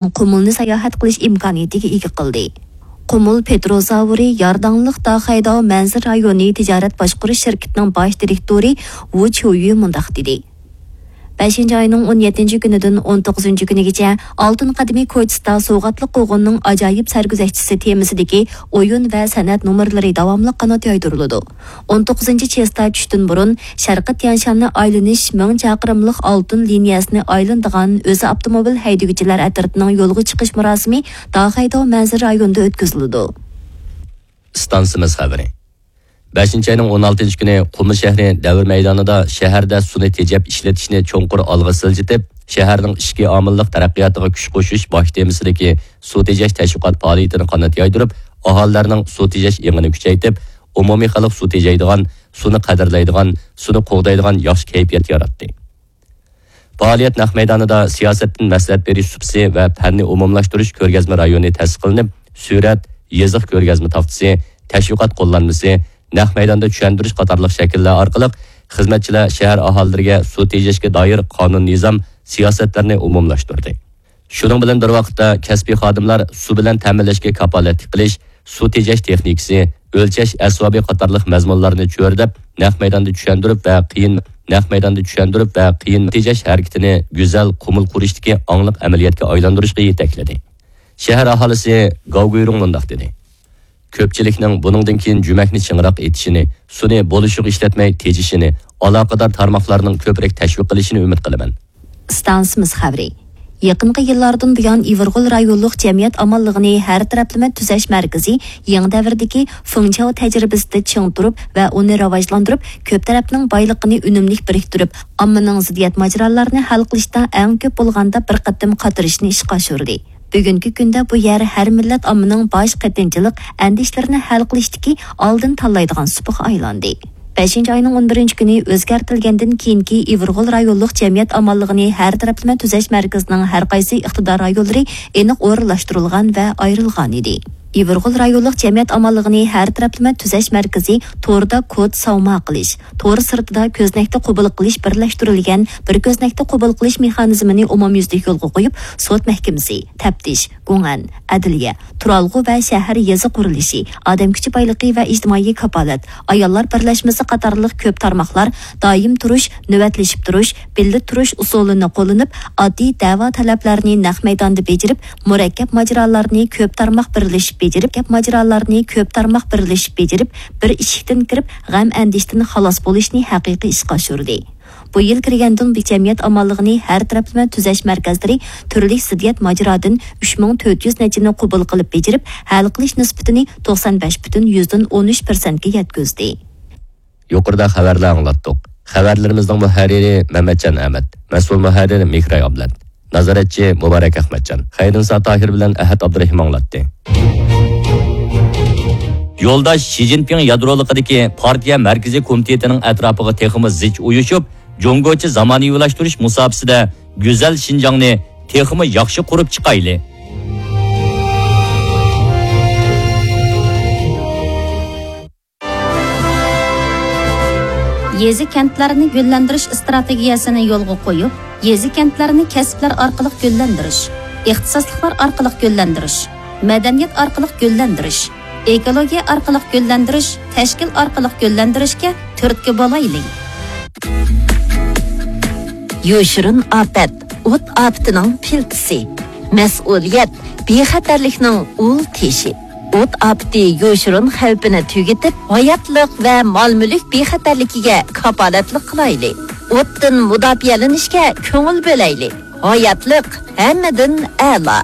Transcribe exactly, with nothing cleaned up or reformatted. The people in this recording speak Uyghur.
قۇمۇلنى ساياھەت قىلىش ئىمكانىيىتىگە ئىگە قىلدى. قۇمۇل پېتروزاۋرى يارداڭلىق داخەيداۋ مەنزىرە رايونى تىجارەت باشقۇرۇش شىركىتىنىڭ باش دىرېكتورى ۋۇ چيۇيۈ مۇنداق دېدى: بەشىنچى ئاينىڭ ئون يەتتىنچى كۈنىدىن ئون توققۇزىنچى كۈنىگىچە ئالتۇن قەدىمى كوچىسىدا سوۋغاتلىق قوغۇننىڭ ئاجايىپ سەرگۈزەشتىسى تېمىسىدىكى ئويۇن ۋە سەنئەت نومۇرلىرى داۋاملىق قانات يايدۇرۇلىدۇ. ئون توققۇزىنچى چېستا چۈشتىن بۇرۇن شەرقىي تيەنشاننى ئايلىنىش مىڭ چاقىرىملىق ئالتۇن لىنىيەسىنى ئايلىنىدىغان ئۆزى ئاپتوموبىل ھەيدىگۈچىلەر ئەترىتىنىڭ يولغا چىقىش مۇراسىمى داخەيداۋ مەنزىرە رايونىدا ئۆتكۈزۈلىدۇ. ئىستانسىمىز خەۋىرى. بەشىنچى ئاينىڭ ئون ئالتىنچى كۈنى قۇمۇل شەھىرى دەۋر مەيدانىدا شەھەردە سۇنى تېجەپ ئىشلىتىشنى چوڭقۇر ئالغا سىلجىتىپ، شەھەرنىڭ ئىچكى ئامىللىق تەرەققىياتىغا كۈچ قوشۇش باش تېمىسىدىكى سۇ تېجەش تەشۋىقات پائالىيىتىنى قانات يايدۇرۇپ، ئاھالىلەرنىڭ سۇ تېجەش ئېڭىنى كۈچەيتىپ، ئومۇمىي خەلق سۇ تېجەيدىغان، سۇنى قەدىرلەيدىغان، سۇنى قوغدايدىغان ياخشى كەيپىيات ياراتتى. پائالىيەت نەق مەيدانىدا سىياسەتتىن مەسلىھەت بېرىش سۇپىسى ۋە پەننى ئومۇملاشتۇرۇش كۆرگەزمە رايونى تەسىس قىلىنىپ، سۈرەت، يېزىق كۆرگەزمە تاختىسى، تەشۋىقات قوللانمىسى، نەق مەيداندا چۈشەندۈرۈش قاتارلىق شەكىللەر ئارقىلىق خىزمەتچىلەر شەھەر ئاھالىلىرىگە سۇ تېجەشكە دائىر قانۇن-نىزام، سىياسەتلەرنى ئومۇملاشتۇردى. شۇنىڭ بىلەن بىر ۋاقىتتا، كەسپىي خادىملار سۇ بىلەن تەمىنلەشكە كاپالەتلىك قىلىش، سۇ تېجەش تېخنىكىسى، ئۆلچەش ئەسۋابى قاتارلىق مەزمۇنلارنى چۆرىدەپ، نەق مەيداندا چۈشەندۈرۈپ ۋە قىيىن، نەق مەيداندا چۈشەندۈرۈپ ۋە قىيىن تېجەش ھەرىكىتىنى گۈزەل قۇمۇل قۇرۇشتىكى ئاڭلىق ئەمەلىيەتكە ئايلاندۇرۇشقا يېتەكلىدى. شەھەر ئاھالىسى گاۋ گۇيرۇڭ مۇنداق دېدى: كۆپچىلىكنىڭ بۇنىڭدىن كېيىن جۈمەكنى چىڭراق ئېتىشىنى، سۇنى بولۇشىغا ئىشلەتمەي تېجىشىنى، ئالاقىدار تارماقلارنىڭ كۆپرەك تەشۋىق قىلىشىنى ئۈمىد قىلىمەن. ئىستانسىمىز خەۋىرى. يېقىنقى يىللاردىن بۇيان، ئىۋىرغول رايونلۇق جەمئىيەت ئامانلىقىنى ھەر تەرەپلىمە تۈزەش مەركىزى يېڭى دەۋردىكى فېڭچياۋ تەجرىبىسىدە چىڭ تۇرۇپ ۋە ئۇنى راۋاجلاندۇرۇپ، كۆپ تەرەپنىڭ بايلىقىنى ئۈنۈملۈك بىرىكتۈرۈپ، ئاممىنىڭ زىددىيەت ماجىرالارنى ھەل قىلىشتا ئەڭ كۆپ بولغاندا بىر قېتىم قاتنىشىشنى ئىشقا ئاشۇردى. بۈگۈنكى كۈندە بۇ يەر ھەر مىللەت ئاممىنىڭ باش قېتىنچىلىق ئەندىشىلىرىنى ھەل قىلىشتىكى ئالدىن تاللايدىغان سۇپىغا ئايلاندى. بەشىنچى ئاينىڭ ئون بىرىنچى كۈنى ئۆزگەرتىلگەندىن كېيىنكى ئىۋىرغول رايونلۇق جەمئىيەت ئامانلىقىنى ھەر تەرەپلىمە تۈزەش مەركىزىنىڭ ھەر قايسى ئىقتىدار رايونلىرى ئېنىق ئورۇنلاشتۇرۇلغان ۋە ئايرىلغان ئىدى. ئىۋىرغول رايونلۇق جەمئىيەت ئامانلىقىنى ھەر تەرەپلىمە تۈزەش مەركىزى توردا كود ساۋما قىلىش، تور سىرتىدا كۆزنەكتە قوبۇل قىلىش بىرلەشتۈرۈلگەن بىر كۆزنەكتە قوبۇل قىلىش مېخانىزمىنى ئومۇميۈزلۈك يولغا قويۇپ، سوت مەھكىمىسى، تەپتىش، گۇڭئەن، ئەدلىيە، تۇرالغۇ ۋە شەھەر يېزا قۇرۇلۇشى، ئادەم كۈچى بايلىقى ۋە ئىجتىمائىي كاپالەت، ئاياللار بىرلەشمىسى قاتارلىق كۆپ تارماقلار دائىم تۇرۇش، نۆۋەتلىشىپ تۇرۇش، بىللە تۇرۇش ئۇسۇلىنى قوللىنىپ، ئاددىي دەۋا تەلەپلەرنى نەق مەيداندا بېجىرىپ، مۇرەككەپ ماجىرالارنى كۆپ تارماق بىرلىشىپ بېجىرىپ، مۇرەككەپ ماجىرالارنى كۆپ تارماق بىرلىشىپ بېجىرىپ، بىر ئىشىكتىن كىرىپ، غەم-ئەندىشىدىن خالاس بولۇشنى ھەقىقىي ئىشقا ئاشۇردى. بۇ يىل كىرگەندىن بۇيان، جەمئىيەت ئامانلىقىنى ھەر تەرەپلىمە تۈزەش مەركەزلىرى تۈرلۈك زىددىيەت ماجىرادىن ئۈچ مىڭ تۆت يۈز نەچچىنى قوبۇل قىلىپ بېجىرىپ، ھەل قىلىش نىسبىتىنى توقسان بەش پۈتۈن يۈزدىن ئون ئۈچ پىرسەنتكە يەتكۈزدى. يۇقىرىدا خەۋەرلەر ئاڭلاتتۇق. خەۋەرلىرىمىزنىڭ مۇھەررىرى مەمەتجان ئەمەت، مەسئۇل مۇھەررىر مېھراي ئابلەت، نازارەتچى مۇبارەك ئەخمەتجان، خەيرىنسا تاھىر بىلەن ئەھەت ئابدۇرېھىم ئاڭلاتتى. يولداش شى جىنپىڭ يادرولۇقىدىكى پارتىيە مەركىزىي كومىتېتىنىڭ ئەتراپىغا تېخىمۇ زىچ ئۇيۇشۇپ، جۇڭگوچە زامانىۋىلاشتۇرۇش مۇساپىسىدە گۈزەل شىنجاڭنى تېخىمۇ ياخشى قۇرۇپ چىقايلى. يېزا-كەنتلەرنى گۈللەندۈرۈش ئىستراتېگىيەسىنى يولغا قويۇپ، يېزا-كەنتلەرنى كەسىپلەر ئارقىلىق گۈللەندۈرۈش، ئىختىساسلىقلار ئارقىلىق گۈللەندۈرۈش، مەدەنىيەت ئارقىلىق گۈللەندۈرۈش، ئېكولوگىيە ئارقىلىق گۈللەندۈرۈش، تەشكىل ئارقىلىق گۈللەندۈرۈشكە تۈرتكە بولايلى. يوشۇرۇن ئاپەت، ئوت ئاپىتىنىڭ پىلتىسى. مەسئۇلىيەت، بىخەتەرلىكنىڭ ئۇل تېشى. ئوت ئاپىتى يوشۇرۇن خەۋپىنى تۈگىتىپ، ھاياتلىق ۋە مال-مۈلۈك بىخەتەرلىكىگە كاپالەتلىك قىلايلى. ئوتتىن مۇداپىئەلىنىشكە كۆڭۈل بۆلەيلى. ھاياتلىق ھەممىدىن ئەلا.